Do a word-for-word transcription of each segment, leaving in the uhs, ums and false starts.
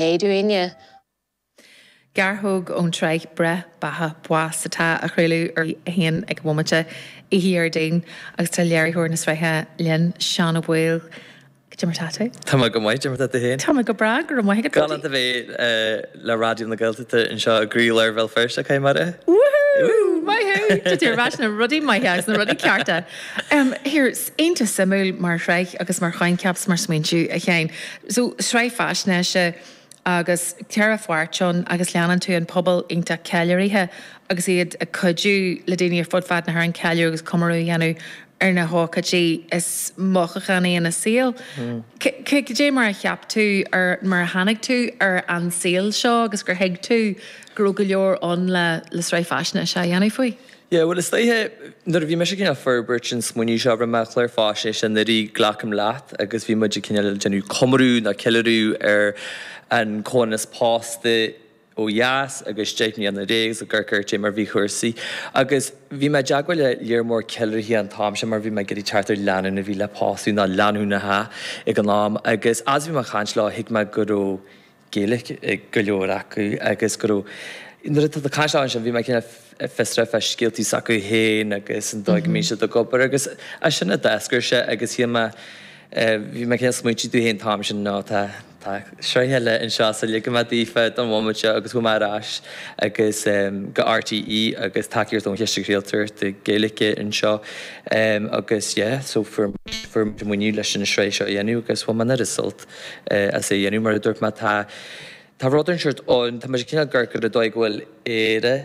Éaduine. Gearrthóg ón tsraith Breith, Beatha, Bás atá á chraoladh ar a haon ag an bhomaite oíche Dhéardaoin agus tá léiritheoir na sraithe linn, Seán Ó Baoill. Cad é mar tá tú? Tá mé go maith, cad é mar tá tú féin? Tá mé go breá, go raibh maith agat. Galánta bheith le Raidió na Gaeltachta anseo i gcroílár Bhéal Feirste, caithfidh mé a rá. Woohoo! Maith thú! Tá tú ar ais na rudaí maithe agus na rudaí cearta. Here, iontach suimiúil mar shraith agus mar choincheap 's mar smaointiú, a Sheáin. So, sraith faisnéise agus ceithre pháirt ann agus leanann tú an pobal iontach ceiliúraithe agus iad ag cuidiú le daoine ar fud fad na hÉireann ceiliúradh agus comóradh a dhéanamh ar na hócáidí is mothúchánaí ina saol. Cad é mar a cheap tú ar, mar a tháinig tú ar an saol seo agus gur thuig tú go raibh go leor ann le le sraith faisnéise a dhéanamh faoi? Yeah, bhuel is dóiche, nuair a bhí mise cineál ag forbairt an smaoineamh seo, rinne mé clár faisnéise anuraidh, Glacaim Leat, agus bhí muid ag cineál déanamh comóradh nó ceiliúradh ar an comhionannas pósta ó dheas agus deich mbliana agus ag amharc ar cad é mar bhí cúrsaí. Agus bhí mé i dteagmháil le lear mór ceiliúraithe an t-am sin mar bhí mé ag iarraidh teacht ar lánúin a bhí le pósadh nó lánúineacha ag an am agus as bhí mé ag caint leo thuig mé go raibh Gaeilge ag go leor acu agus go raibh nuair atá tú ag caint leo ansin bhí mé cineál fiosrach fá scéaltaí s'acu féin agus an dóigh a mbíonn siad ag obair agus as sin a d'eascair sé agus shíl mé bhí mé cineál smaointiú domh féin an t-am sin nó tá tá sraith eile anseo so ligfidh mé daofa don bhomaite seo agus chuaigh mé ar ais agus go R T E agus tacaíocht ón Chiste Craoltóireachta Gaeilge anseo agus yeah so fuair fuair muid maoiniú leis an sraith seo a dhéanamh agus bhain mé an oiread sult as é a dhéanamh mar a dúirt mé tá tá rud inteacht ann tá muid cineál ag amharc ar an dóigh go bhfuil Éire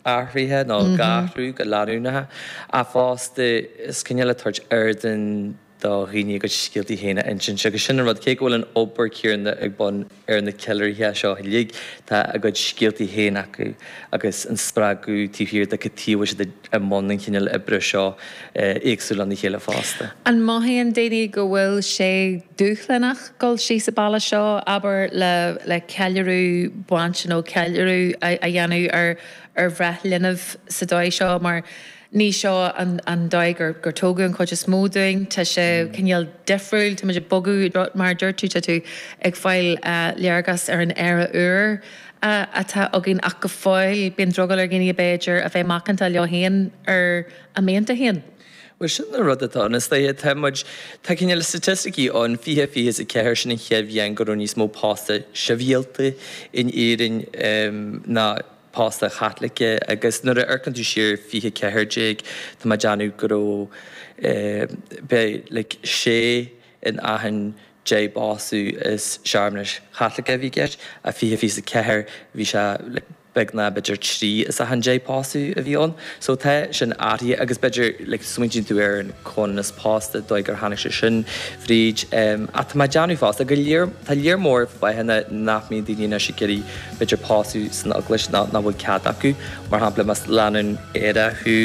athraithe nó ag athrú go leanúnach ach fosta is cineál ag tabhairt ardán do dhaoine a gcuid scéaltaí féin a insint agus sin an rud cé go bhfuil an obair chéanna ag bun ar na ceiliúraithe seo uilig tá a gcuid scéaltaí féin acu agus an spreagadh taobh thiar de cad chuige a bhfuil siad i mbun an chineál oibre seo éagsúil lena chéile fosta. An mothaíonn daoine go bhfuil sé dúshlánach dul síos an bealach seo, abair le le ceiliúradh bainte nó ceiliúradh a dhéanamh ar ar bhreith linbh sa dóigh seo mar ní seo an an dóigh gur gur tógadh an chuid is mó dúinn, tá sé cineál difriúil, tá muid ag bogadh mar a dúirt tú, tá tú ag fáil léargas ar an Éire úr atá againn ach go fóill bíonn drogall ar dhaoine b'fhéidir a bheith macánta leo féin ar a mianta féin. Bhuel sin an rud atá ann is dóiche tá muid tá cineál staitisticí ann fiche fiche is a ceathair sin an chéad bhliain go raibh níos mó pósta sibhialta in Éirinn ná pósta Chaitliceach agus nuair a amharcann tú siar fiche ceathair déag tá mé ag déanamh go raibh beidh like sé in achan deich bpósadh is searmanais Chaitliceach a bhí i gceist ach fiche fiche a ceathair bhí sé like beagnach b'fhéidir trí as achan deich pósadh a bhí ann. So tá sin athraithe agus b'fhéidir like smaointíonn tú ar an comhionannas pósta dóigh gur tháinig sé sin fríd. Ach tá mé ag déanamh fosta go lear tá lear mór fáthanna nach mbíonn daoine anois ag iarraidh b'fhéidir pósadh san eaglais ná nach bhfuil cead acu. Mar shampla más lánúin aerach thú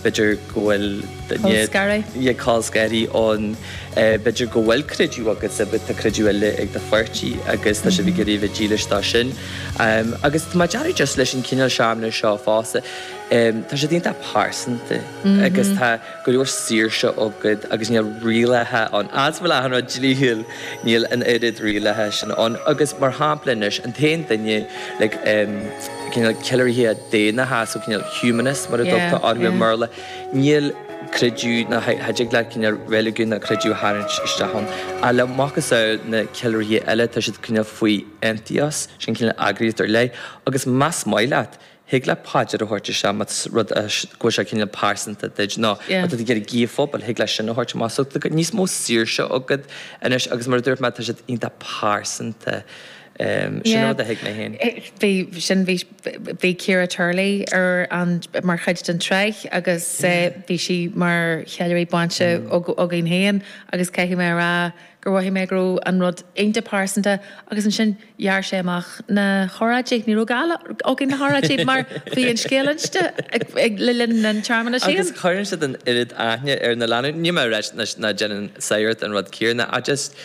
b'fhéidir go bhfuil duine Col scaradh. yeah col scaradh ann b'fhéidir go bhfuil creideamh agatsa but tá creideamh eile ag do pháirtí agus tá sibh ag iarraidh a bheith dílis dó sin. Agus tá mé ag déanamh just leis an cineál searmanas seo fosta tá siad iontach pearsanta agus tá go leor saoirse agat agus níl rialacha ann. As bhfuil achan rud dlíthiúil níl an oiread rialacha sin ann agus mar shampla anois an t-aon duine like cineál ceiliúraithe daonnacha so cineál humanist mar a dtugtar orthu i mBéarla níl creideamh ná cha dtig leat cineál reiligiún ná creideamh a tharraingt isteach ann. Ach le macasamhail na ceiliúraithe eile tá siad cineál faoi aontíos, sin cineál eagraíocht ar leith agus más maith leat thig leat paidir a thabhairt isteach más rud é go bhfuil sé cineál pearsanta duit nó má tá tú ag iarraidh guí phobail thig leat sin a thabhairt amach. So tá níos mó saoirse agat anois agus mar a dúirt mé tá siad iontach pearsanta. Sin an rud a thuig mé féin. Bhí sin bhí bhí Ciara Turley ar an mar chuid den tsraith agus bhí sí mar cheiliúraí bainte againn féin agus caithfidh mé a rá gur mhothaigh mé go raibh an rud iontach pearsanta agus ansin ghearr sé amach na hóráidí. Ní raibh gá againn na hóráidí mar bhí an scéal inste le linn an tsearmanais Agus féin. cuireann siad an oiread aithne ar na lánúin. Níl mé ag rá nach déanann sagart an rud céanna ach just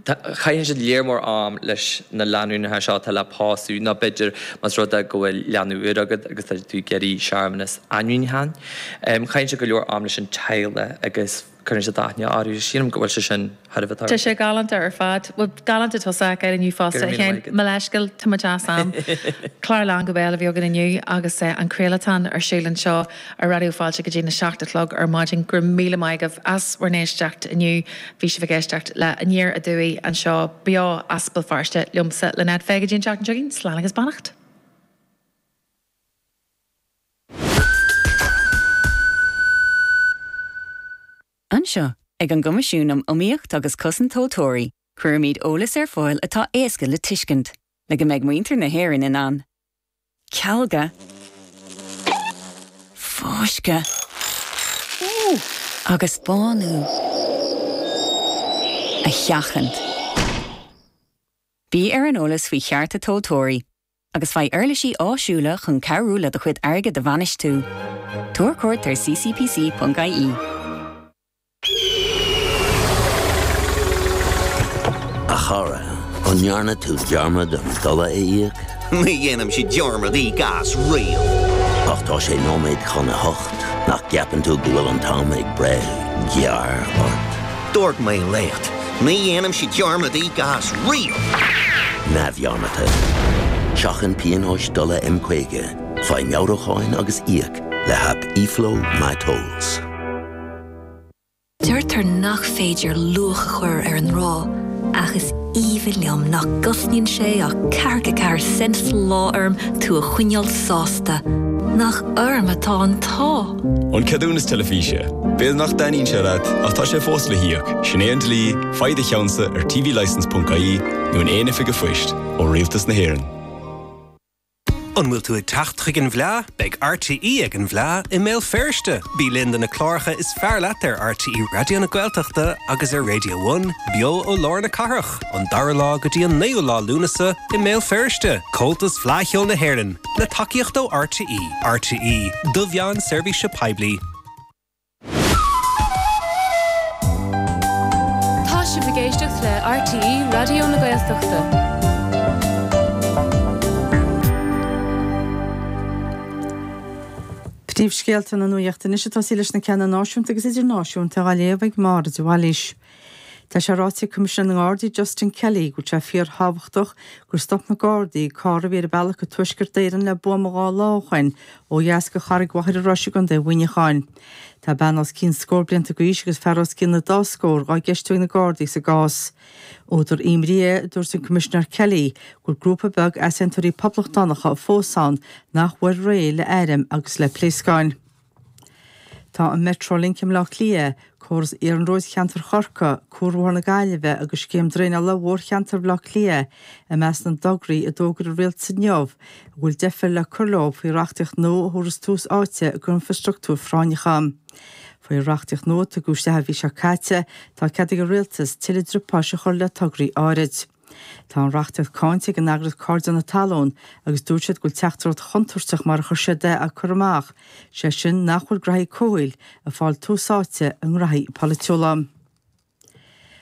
caitheann siad lear mór am leis na lánúineacha seo atá le pósadh nó b'fhéidir más rud é go bhfuil leanbh úr agat agus tá tú ag iarraidh searmanas ainmniúcháin. Caitheann siad go leor am leis an teaghlach agus cuireann siad aithne orthu. Sílim go bhfuil sé sin thar a bheith Tá sé galánta ar fad. Bhuel, galánta tusa ag inniu fosta, a Sheáin. Mo leithscéal, tá muid as am. Clár lán go béal a bhí againn inniu agus an craolatán ar siúl anseo ar Raidió Fáilte go dtí na seacht a chlog ar maidin. Go raibh míle maith agaibh as bhur n-éisteacht inniu. Bhí sibh ag éisteacht le Aniar Aduaidh anseo beo as Béal Feirste liomsa, Lynette Fay. Go dtí an tseachtain seo chugainn, slán agus beannacht. Anseo, ag an gCoimisiún um Iomaíocht agus Cosaint Tomhaltóirí, cuirimid eolas ar fáil atá éasca le tuiscint, le go mbeidh muintir na hÉireann in ann cealga, fáisceadh agus bánú a sheachaint. Bí ar an eolas faoi chearta tomhaltóirí agus faigh uirlisí áisiúla chun cabhrú le do chuid airgid a bhainistiú. Tabhair cuairt ar ccpc.ie. A chara, an ndearna tú dearmad an dola a íoc? Ní dhéanaimse dearmad íoc as riamh. Ach tá sé nóiméad chun a hocht, nach gceapann tú go bhfuil an t-am ag breith gearr ort? Dúirt mé leat, ní dhéanaimse dearmad íoc as riamh! Neamhdhearmadta. Seachain pionóis dola M caoga, faigh meabhrúcháin agus íoc le haip eFlow MyTolls. Deirtear nach féidir luach a chur ar an ngrá, ach is aoibhinn liom nach gcosnaíonn sé ach ceathracha ceathair cent sa lá orm tú a choinneáil sásta. Nach orm atá an t-ádh! An ceadúnas teilifíse. B'fhéidir nach dtaitníonn sé leat, ach tá sé fós le híoc. Sin é an dlí, faigh do cheannsa ar tvlicence.ie nó in aon oifig an phoist ó Rialtas na hÉireann. An bhfuil tú ag teacht chuig an bhFleá? Beidh RTÉ ag an bhFleá i mBéal Feirste. Bí linn do na cláracha is fearr leat ar RTÉ Raidió na Gaeltachta agus ar Radio One, beo ó lár na cathrach, an dara lá go dtí an naoú lá Lúnasa i mBéal Feirste. Comhaltas Fleadh Cheoil na hÉireann, le tacaíocht ó RTÉ. RTÉ, do mheán seirbhíse poiblí. Tá sibh ag éisteacht le RTÉ Raidió na Gaeltachta. Príomhscéalta na nuachta anois ag tosaí leis na ceanna náisiúnta agus idirnáisiúnta á léamh ag Máire de Bhailís. Tá sé ráite ag Coimisinéir na nGardaí Justin Kelly go bhfuil sé fíorthábhachtach gur stop na Gardaí carr a bhí ar a bealach go Tuaisceart Éireann le buama dhá lá ó shin ó dheas go Charraig Mhachaire Rois i gContae Mhuineacháin. Tá bean os cionn scór blianta d'aois agus fear os cionn na dá scór á gceistiú ag na Gardaí sa gcás. Údar imní é, a dúirt an Coimisinéir Kelly, go bhfuil grúpa beag easaontóirí poblachtánacha fós ann nach bhfuil réidh le airm agus le pléascáin. Tá an Metrolink i mBleá Cliath, córas iarnróid cheantar Chorcaí, Cuarbhóthar na Gaillimhe agus scéim draenála mhórcheantar Bhaile Átha Cliath i measc na dtograí a d'fhógair an rialtas inniu a bhfuil deifir le cur leo faoi reachtaíocht nua a thabharfas tús áite d'infrastruchtúir phráinneacha. Faoi reachtaíocht nua a tugadh isteach an mhí seo caite, tá cead ag an rialtas tuilleadh driopáis a chur le tograí áirid. Tá an reachtaíocht cáinte ag an eagraíocht Cairde na Talún agus dúirt siad go bhfuil teachtaireacht chontúirteach mar a chuir siad é á cur amach, sé sin nach bhfuil graithí comhshaoil ag fáil tús áite i ngraithí polaitiúla.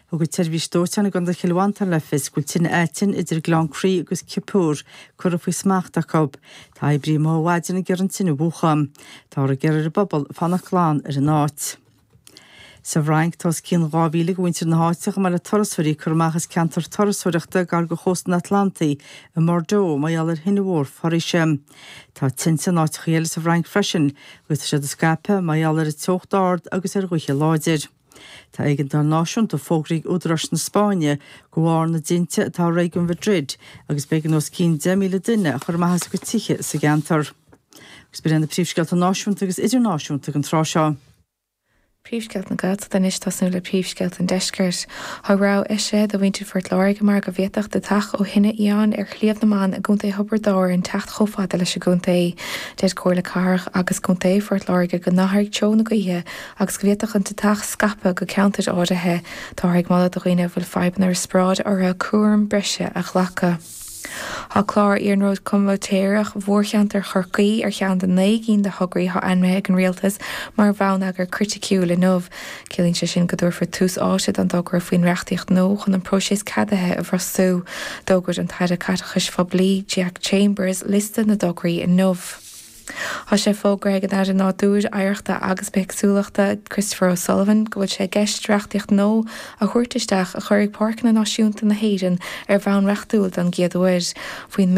Thug an tseirbhís dóiteáin i gContae Chill Mhantáin le fios go bhfuil tine aitinn idir Gleann Crí agus Ciopúr curtha faoi smacht acu. Tá oibrithe amuigh ó mhaidin ag iarraidh an tine a mhúchadh. Táthar ag iarraidh ar an bpobal fanacht glan ar an áit. Sa bhFrainc, tá os cionn dhá mhíle de mhuintir na háite chomh maith le turasóirí curtha amach as ceantar turasóireachta gar do chósta an Atlantaigh i mBordeaux mar gheall ar thine mhór foraoise. Tá tinte in áiteacha eile sa bhFrainc freisin agus tá siad ag scaipeadh mar gheall ar an teocht ard agus ar ghaotha láidir. Tá éigeandáil náisiúnta fógraithe ag údaráis na Spáinne de bharr na dtinte atá i réigiún Mhadrid agus b'éigean os cionn deich míle duine a chur amach as a gcuid tithe sa gceantar. Agus b'in iad na príomhscéalta náisiúnta agus idirnáisiúnta don tráth seo. Príomhscéalta na Gaeltachta anois tosnú le príomhscéalta an Deiscirt. Tá rabhadh eisithe do mhuintir Phort Láirge mar go bhféadfadh deatach ó thine fhiáin ar Shliabh na mBan i gContae Thiobraid Árann teacht chomh fada leis an gcontae. Deir Comhairle Cathrach agus Contae Phort Láirge go n-athróidh treo na gaoithe agus go bhféadfadh an deatach scaipeadh go ceantair áirithe. Táthar ag moladh do dhaoine a bhfuil fadhbanna riospráide orthu cúram breise a ghlacadh. Tá clár iarnróid comaitéireach mhórcheantar Chorcaí ar cheann de naoi gcinn de thograí atá ainmnithe ag an Rialtas mar bhonneagar criticiúil inniu. Ciallaíonn sé sin go dtabharfar tús áite don dtogra faoin reachtaíocht nua chun an próiseas ceadaithe a bhrostú. D'fhógair an tAire Caiteachais Phoiblí Jack Chambers liosta na dtograí inniu. Tá sé fógartha ag an Aire Nádúir, Oidhreachta agus Bithéagsúlachta Christopher O'Sullivan go bhfuil sé i gceist reachtaíocht nua a thabhairt isteach a chuirfidh Páirceanna Náisiúnta na hÉireann ar bhonn reachtúil don gcéad uair. Faoin